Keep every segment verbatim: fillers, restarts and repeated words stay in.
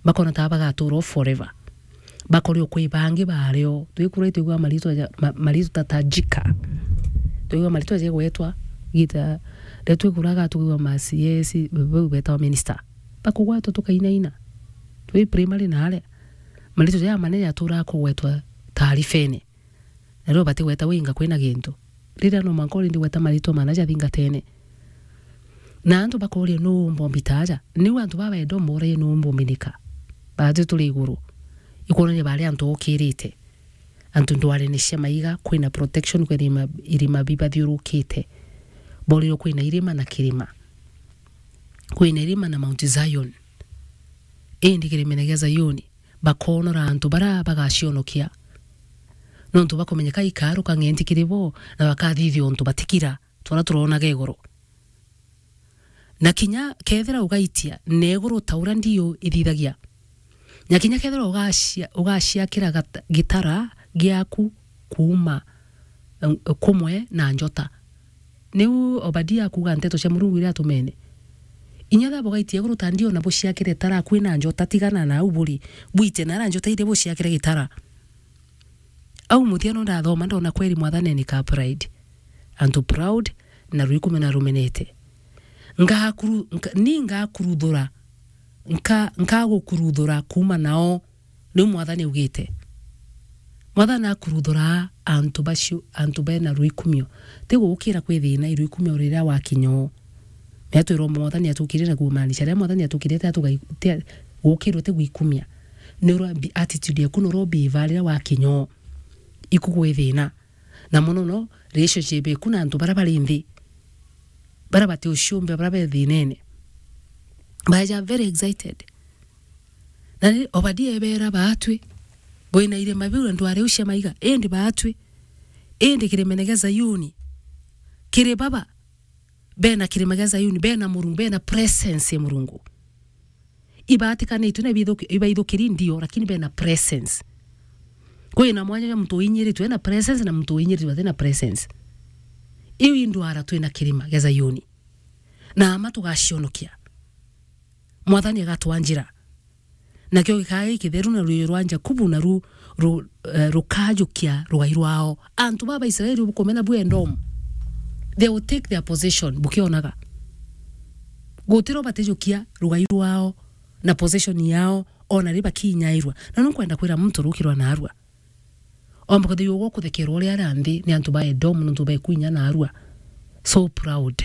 Bakona ta bagatuura o forever. Bakorio kwi bangi bario. Twikura itwigua maritwa ja, ma, maritwa ta Tajika. Twigua maritwa jegwetwa gita, riria twikuraga twigua ma C S, bau betawa minister. Bakugwetwa tukainaina. Twi primary na aria. Maritwa ja manene jaturaa kugwetwa taarifene. Na riu batigweta winga kwina gintu. Riria no mwanka urindi gweta maritwa mana jathingatene. Na antu bakoria, "Nuu umbombi ta aja?" Niu antu baba Edomu boragia, "Nuu umbuminika?" Baatwi turi iguru. Ikwonania bari antu okirite. Antu ndwarene cia maiga, kwina protection, kwina irima, irima bibathiurukite. Borirwe kwina irima na kirima. Kwina irima na Mount Zion. Indi kirimene gia Zayuni, bakoonora antu baria bagacionokia. Nontu bakumenyeka ikaruka ng'enti kiri bo, na bakathithia untu batikira, twara turonaga iguru. Na kinya kethira ugaitia, na iguru ta uria ndiu ithithagia. Na kinya kethira ugacia-, ugaciakira gata-, gitara giaku kuuma, eh, kumwe na njota. Niu Obadia akuuga nteto cia Murungu iria atumene. Inya thaba ugaitia iguru ta ndiu na buciakire tara kwina njota, tigana na au buri. Bwite nara njota iria buciakire gitara. Au muthia no ndathoma, ndona kweri Mwathani ni ka pride. Antu proud na rwikumio na rumenete. Ngakuru-, nka-, ni ngakuruthura, nka-, nkagukuruthura kuuma nao, niu Mwathani augite. Mwathani akuruthura antu bacio, antu bena rwikumio. Ti gukira kwi thina, i rwikumio riria wakinya o. Mea twirwo Mwathani atukire na kumaanisha, riria Mwathani atukire, ti atugai-, ti a-, gukirwe ti gwikumia. Ni ura bi-, attitude yaku, ni ura ubiva riria wakinya o. Iku gwi thina. Na mono no, relationship eku na antu baria bari nthi. Baria bati uciumbe, baria be thinene. Baeja very excited. Na ni Obadia ebera baatwi, bwina irima biu na ndwari u cia maiga, indi baatwi, indi kirimene gia Zayuni, kiri baba, bena kirima gia Zayuni, bena Murungu, bena presence ya Murungu. Ibaatikanitue na ibaithuki-, ibaithukiri ndio, lakini bena presence. Kwina mwanya jwa muntu uinyiritwe ena presence na muntu uinyiritwe atina presence. Iu indwara twina kirima gia Zayuni. Na ama tugacionokia. Mwathani agatwa njira. Nakio gikaa gikitheru na ruuji rwa Jakubu, na ru-, ru-, eh, rukajukia rugai rwao. Antu baba Israeli bukumena bwi Edomu. They will take their possession, bukionaga. Gutiro batijukia rugai rwao na possession yao, ona ri bakinyairwa. Na nunkwenda kwira muntu rukirwa narua. Omba kwithirwa ugwo kuthekerwa uria aria nthi ni antu ba Edomu, nontu bekwinya narua. So proud.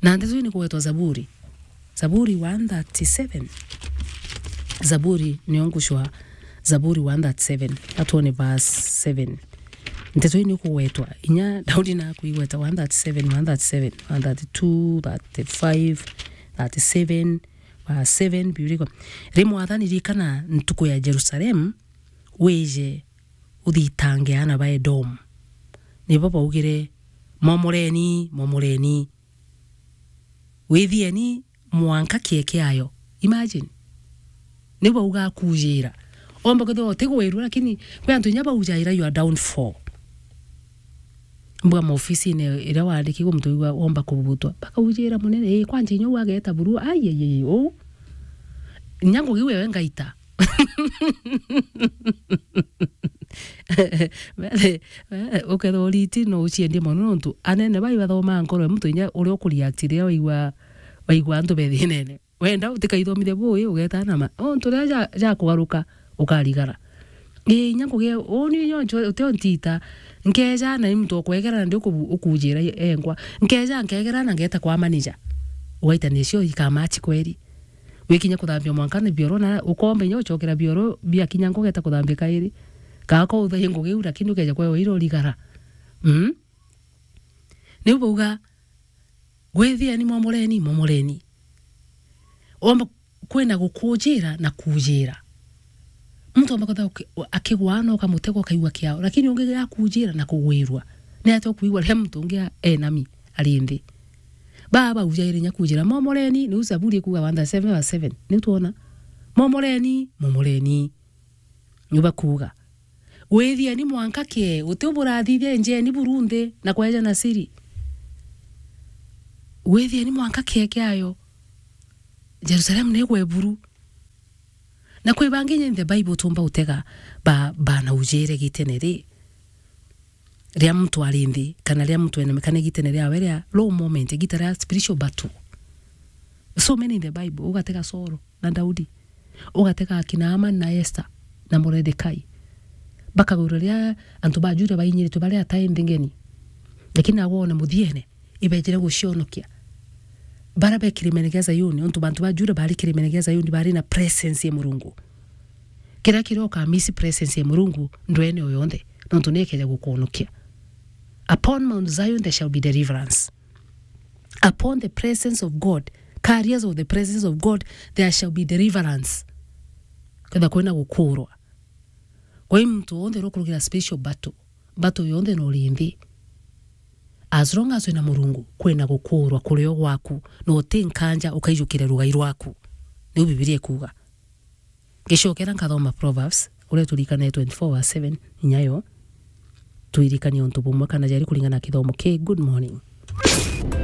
Na ndeto ii ni kugwetwa Zaburi. Zaburi one thirty-seven. Zaburi, nio ngucwa Zaburi one thirty-seven. Atwone verse seven. Ndeto ii ni kugwetwa. Inya Daudi na kwigweta one thirty-seven, one thirty-seven, one thirty-two, thirty-five, thirty-seven, verse seven, Biblia iko, "Ri Mwathani, ririkana ntuku ya Jerusalemu, wije uthitange aana ba Edomu." Nibo baugire, "Momoreni, momoreni. Withieni mwanka kieke ayo." Imagine. Nibo bauga akujira. Omba kwithirwa utigwirua, lakini kwi antu inya baujaira your downfall. Mbuga maofisine iria waandikirwe muntu wigua womba kubutwa. Bakaujira munene, "Ii, kwanja inya uu ageeta buru, ai, ai, ai, uu." Inya ngugi wewe ngaita. Wethe, wethe, ukethirwa uriti no uciendie mono nontu anene bai bathomaa nkoro ya muntu inya uria ukureact riria waigua, waigua antu be thinene. Wenda utikaithomithia bui, ugeeta na ma. O ntu riria ja, ja kugaruka, ukarigara. Ii, inya ngugi, uu ni nyo ncho, utio ntita. Nkeeja na ni muntu ukwegera na ndi ukubu-, ukujira enkwa. Nkeeja, nkeegera na ngeeta kwa manager. Ugaita nicio ikamachi kweri. Wikinya kuthambia mwanka ni bioro na ukomba inya ucokera bioro biakinya nkugeeta kuthambia kairi. Kaa ko uthaie ngugi iu, lakini ukeeja kwewa ira urigara. Mm? Niu bauga, "Gwithieni, momoreni, momoreni." Omba kwina gukujira na kujira. Muntu omba kwithirwa uki-, akigwa na ukamutega ukaigua kiao, lakini ungi akujira na kugwirua. Ni atia ukwigua riria muntu ungi a-, enami ari nthi? Baa baujaire inya kujira, "Momoreni," niu Zaburi ikuuga one thirty-seven verse seven. Niu twona, "Momoreni, momoreni." Niu bakuuga, "Gwithieni mwanka kee, guti uburathithia, enjeni buru nthi na kweja na siri. Gwithieni mwanka kee kiayo, Jerusalemu ni igwe buru." Na kwi bangi in the Bible tumba utega ba, bana ujere gitene ri, ria muntu ari nthi, kana ria muntu enemekane gitene riawe ria low moment, igita ria spiritual battle. So many in the Bible, ugatega Saul na Daudi, ugatega akina Haman na Esther na Mordekai. Bakagwirwa ria antu ba Juda bainyiritwe bari atai nthi ngeni. Lakini agwone muthiene, ibejire gucionokia. Bara be kirimene gia Zayuni, untu bantu ba Juda bari kirimene gia Zayuni, bari na presence ya Murungu. Kiria kiria ukamisi presence ya Murungu ndwene o yonthe, nontu ni ekeja gukwonokia. Upon Mount Zion there shall be deliverance. Upon the presence of God, carriers of the presence of God, there shall be deliverance. Ketha kwina gukurwa. Kwa hiyo muntu wonthe uria ukurugira spiritual battle, battle yonthe no uri nthi. As long as wina Murungu, kwina gukurwa kurio gwaku, na uti nkanja ukaijukire rugai rwaku. Niu Bibilia ikuuga. Ngicokera nkathoma Proverbs, uria turikane twenty-four verse seven, inya yo. Twirikanie untu bumwe kana jari kuringana na kithomo ki. Good morning.